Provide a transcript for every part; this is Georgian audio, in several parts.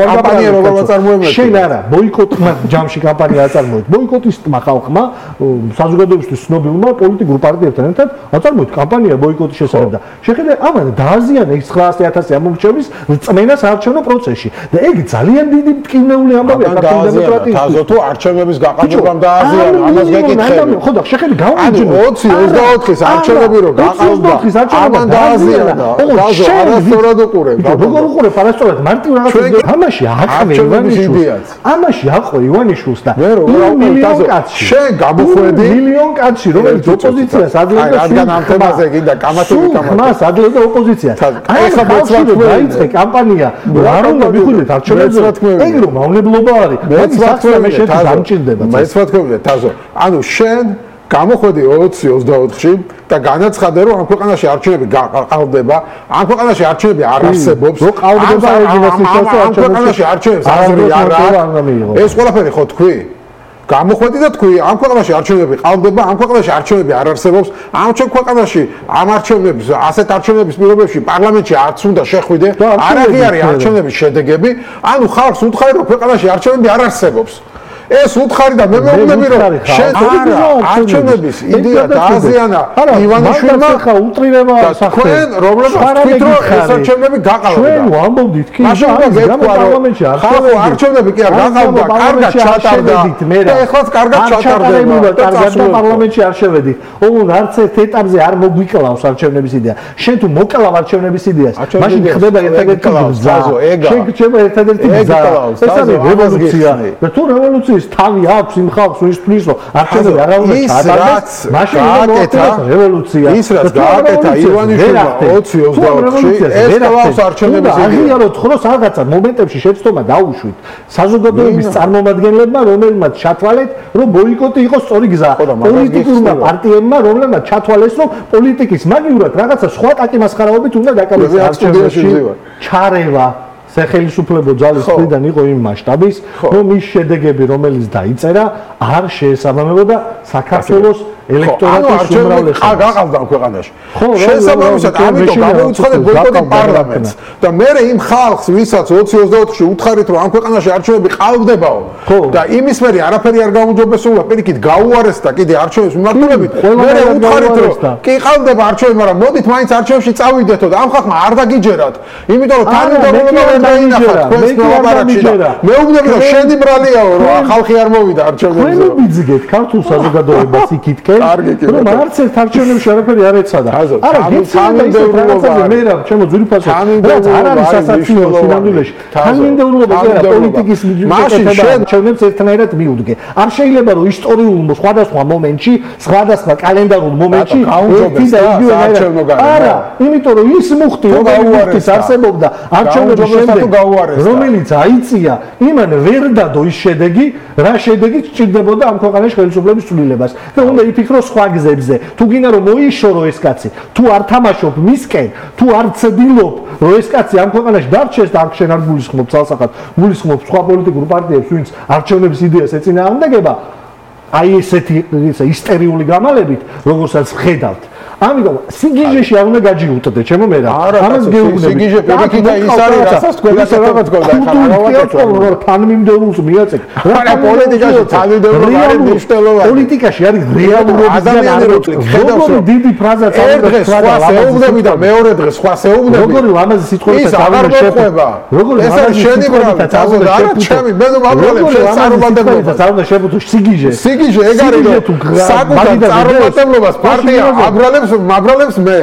კამპანია როგორ აწარმოებდა? შენ არა, ბოიკოტმა ჯამში კამპანია აწარმოეთ. ბოიკოტისტმა ხალხმა, საზოგადოებისთვის ცნობილმა პოლიტიკურ პარტიებთან ერთად აწარმოეთ კამპანია ბოიკოტის შესახებ და შეხედე ამან დააზიანა 900,000 ამომრჩევის წმენა საარჩევნო პროცესში. და ეგ ძალიან დიდი მტკივნეული ამბავია საქართველოს დემოკრატიის. თაზო თუ არჩევნების გაყალბებამ დააზიანა, ამას გეკითხები. ხო და შეხედე გავუჯინო 20-24-ის არჩევნები რო გაყალბდა, ამან დააზიანა. თაზო არასწორად უყურებ. როგორ უყურებ არასწორად მარტივ რაღაცას ამაში აყრე ივანიშვილს. ამაში აყრე ივანიშვილს და მილიონ კაცი. შენ გამოხვედი მილიონ კაცი რომელიც ოპოზიციას ადლებდა რადგან ამ თემაზე გინდა კამათები მას ადლებდა ოპოზიციას. ეხლა დაიწყე კამპანია არ უნდა მიხვილეთ არჩევნებზე. ეგ რომ მავნებლობა არის. მეც ვთქვი შენ დამჭირდება. მეც ვთქვი თაზო. ანუ შენ გამოხვედი 20-24-ში და განაცხადე რომ ამ ქვეყანაში არჩევნები გაყალბდება, ამ ქვეყანაში არჩევნები არ არსებობს. რო ყალბდება ამ ქვეყანაში არჩევნებს აზრი არ აქვს. ეს ყველაფერი ხო თქვი? გამოხვედი და თქვი, ამ ქვეყანაში არჩევნები ყალბდება, ამ ქვეყანაში არჩევნები არ არსებობს. ამ ქვეყანაში ამ არჩევნების, ასეთ არჩევნების პირობებში პარლამენტში არც უნდა შეხვიდე, არ აღიარეს არჩევნების შედეგები. ანუ ხალხს უთხარი რომ ქვეყანაში არჩევნები არ არსებობს. ეს უთხარი და მე მეუბნები რომ შენ არჩევნების იდეა დააზიანა ივანიშვილმა ხა უტრირება სახელმწიფო თქვენ რომლებსაც თქვით რომ ეს არჩევნები გაყალბდა ჩვენ ვამბობდით კი პარლამენტში არჩევნები კი არ გაყალბდა კარგად ჩატარდა და ეხლაც კარგად ჩატარდება კარგად პარლამენტში არ შევედით ოღონდ არც ერთ ეტაპზე არ მოგვიკლავს არჩევნების იდეა შენ თუ მოკლავ არჩევნების იდეას მაშინ ხდება ერთადერთი გზა შენ გჭირდება ერთადერთი გზა ეს არის რევოლუცია და თუ რევოლუცია თავი აქვს იმ ხალხს ვინც თვლის რომ არჩევნები არ უნდა ჩაატარდეს მაშინ მოხდება რევოლუცია ის რაც გააკეთა ივანიშვილმა 20-24-ში ეს ყავს არჩევნების აღიაროთ ხოლოს რაღაცა მომენტებში შეცდომა დაუშვით საზოგადოების წარმომადგენლებმა რომელმაც ჩათვალეთ რომ ბოიკოტი იყოს სწორი გზა პოლიტიკურმა პარტიებმა რომელმაც ჩათვალეს რომ პოლიტიკის მაგივრად რაღაცა სხვა კაკი-მასხარაობით უნდა დაკავდეს არჩევნებში ჩარევა სახელმწიფო ძალის მხრიდან იყო იმ მასშტაბის, რომ ის შედეგები, რომელიც დაიწერა, არ შეესაბამებოდა საქართველოს ელექტორატის უმრავლესობას. გაყალბდა ქვეყანაში. შესაბამისად, ამიტომ გამოუცხადეთ ბოიკოტი პარლამენტს და მე იმ ხალხს, ვისაც 20-24-ში უთხარით, რომ ამ ქვეყანაში არჩევნები ყალბდებაო და იმის მერე არაფერი არ გაუმჯობესებულა, პირიქით გაუარეს და კიდე არჩევნების მიმართულებით, მე უთხარით, რომ კი ყალბდება არჩევნები, მაგრამ მოდით მაინც არჩევნებში წავიდეთო და ამ ხალხმა არ დაგიჯერათ, იმიტომ რომ თანმიმდევრობა დაინახა თქვენს მოლაპარაკში და მეუბნები რომ შენი ბრალიაო რომ ხალხი არ მოვიდა არჩევნებზე. თქვენ ვიძგეთ ქართულ საზოგადოებას იქითკენ რომ არც ერთ არჩევნებში არაფერი არ ეცადა. არა, თანმიმდევრობა მე რა ჩემო ძვირფასო რაც არ არის სასაცილო სინამდვილეში. თანმიმდევრობა კი არა პოლიტიკის მიჯობება არჩევნებს ერთნაირად მიუდგე. არ შეიძლება რომ ისტორიულ სხვადასხვა მომენტში, სხვადასხვა კალენდარულ მომენტში ერთი და იგივე არა, იმიტომ რომ ის მუხტი რომელიც არსებობდა არჩევნების შემდეგ რომელიც აიწია იმან ვერ დადო ის შედეგი რა შედეგი სჭირდებოდა ამ ქვეყანაში ხელისუფლების ცვლილებას და უნდა იფიქროს სხვა გზებზე თუ გინდა რომ მოიშორო ეს კაცი თუ არ თამაშობ მისკენ თუ არ ცდილობ რომ ეს კაცი ამ ქვეყანაში დარჩეს და აქ შენ არ გულისხმობ ცალსახად გულისხმობ სხვა პოლიტიკურ პარტიებს ვინც არჩევნების იდეას ეწინააღმდეგება აი ესეთი ისტერიული გამალებით როგორცაც ხედავთ ამიტომ სიგიჟეში არ უნდა გაჯიუტდე ჩემო მე რა ამას გეუბნები სიგიჟე პირიქით და ის არის რასაც თქვენ რაღაც გქონდა ხალხო თანმიმდევრულს მიაწեք რა პოლიტიკაში თანმიმდევრული არის მნიშვნელოვანი პოლიტიკაში არის რეალურობიდან როგორი დიდი ფრაზაც არის სხვა ეუბნები და მეორე დღეს სხვა ეუბნები როგორი ამაზე სიტყვებითა აღარ როგორი ეს არის შენი ბრალია თაზო და არა ჩემი მე ვაბრალებ შენ წარმომადგენლობას არ უნდა შევუთო სიგიჟე ეგ არის რომ საკუთარ წარმომადგენლობას პარტია აბრალებს მაბრალებს მე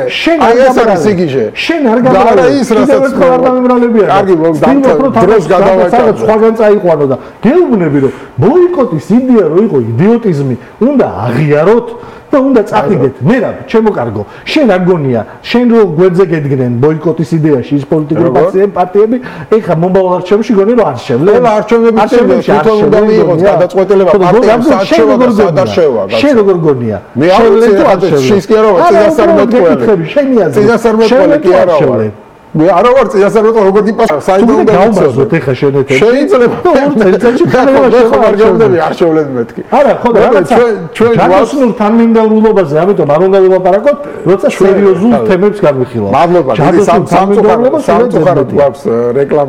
აი ეს არის სიგიჟე შენ არ გაბრალე ის რასაც არ დამემრალებია კარგი მოგდამთავრე დროს გადავაჭრე სხვაგან წაიყვანო და გეუბნები რომ ბოიკოტის იდეა რო იყო იდიოტიზმი უნდა აღიაროთ და უნდა წაყიდეთ მე რა ჩემო კარგო შენ არ გონია შენ რო გვერდზე გედგნენ ბოიკოტის იდეაში ის პოლიტიკური პარტიები ეხა მომავალ არჩევნებში გონი რომ არ შევლენ ყველა არჩევნებში თვითონ უნდა მიიღოს გადაწყვეტილება პარტიებს სადაშევა შენ როგორ გონია მე არ ვიცი შენ კი არა წინასწარმეტყველი კი არა ვარ მე არ ვარ წინასწარმეტყველი როგორ დიპასა საერთოდ უნდა გავმაზოთ ეხა შენ ეთერ შეიძლება ხარ გამდები არ შევლენ მეთქი არა ხო და ჩვენ ჯადოსნურ თანმიმდევრულობაზე ამიტომ არ უნდა ვილაპარაკოთ როცა სერიოზულ თემებს განვიხილავთ მადლობა დიდი სამწუხაროდ გვაქვს რეკლამა